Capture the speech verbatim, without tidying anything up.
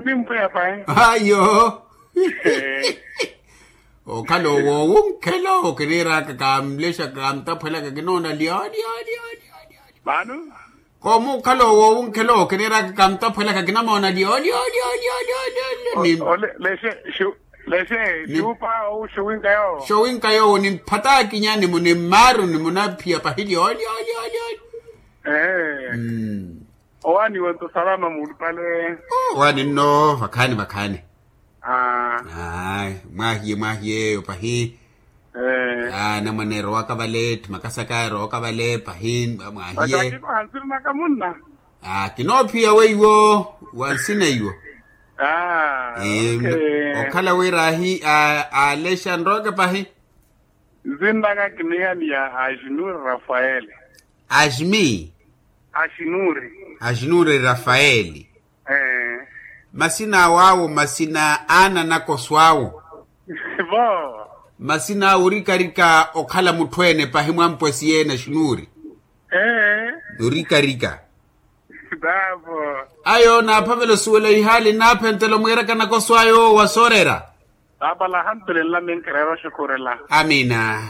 Nimpweya pahi. Ayo. Okhala owowunkhela owo kiniiraka kamlexaka kamtaphwelaka kinoona lyo lyo lyo. Mano. Koomukhala owowunkhela owo kiniiraka kamtaphwelaka kinamoona lyo lyo lyo lyo lyo lyo. Lexe. Lexe. Xupa owu xuwinka yowo. Xuwinka yowo nimphataakinya nimunimmaaruni munaphiya pahi lyo lyo lyo lyo. Ee. Owaani wento salama muulupale. Owaani nno vakhaani vakhaani. Ayi, mwahiye mwahiye eyo pahi. Anamwane erowaka vale ttimakasaka erowaka vale pahi. Mwahiye. Kinoophiyaka weiwo. Wansina iwo. Okhala wira ahi alexa nrowaka pahi. Nzinnaka kinihaniya ashinuri rafaeli. Asmi. Ashinuri. Ashinuri rafaeli. Masina awo awo masina ananakoso awo. Vo. Masina awo orikarika okhala mutthu ene pahi mwampwesi yeene ashinuri. Orikarika. Ayo naaphavela osuwela ihaali naaphentela omwiiraka nakoso ayo wa soorera. Paapa lahantulenla minkireera oxukhurela. Amiina.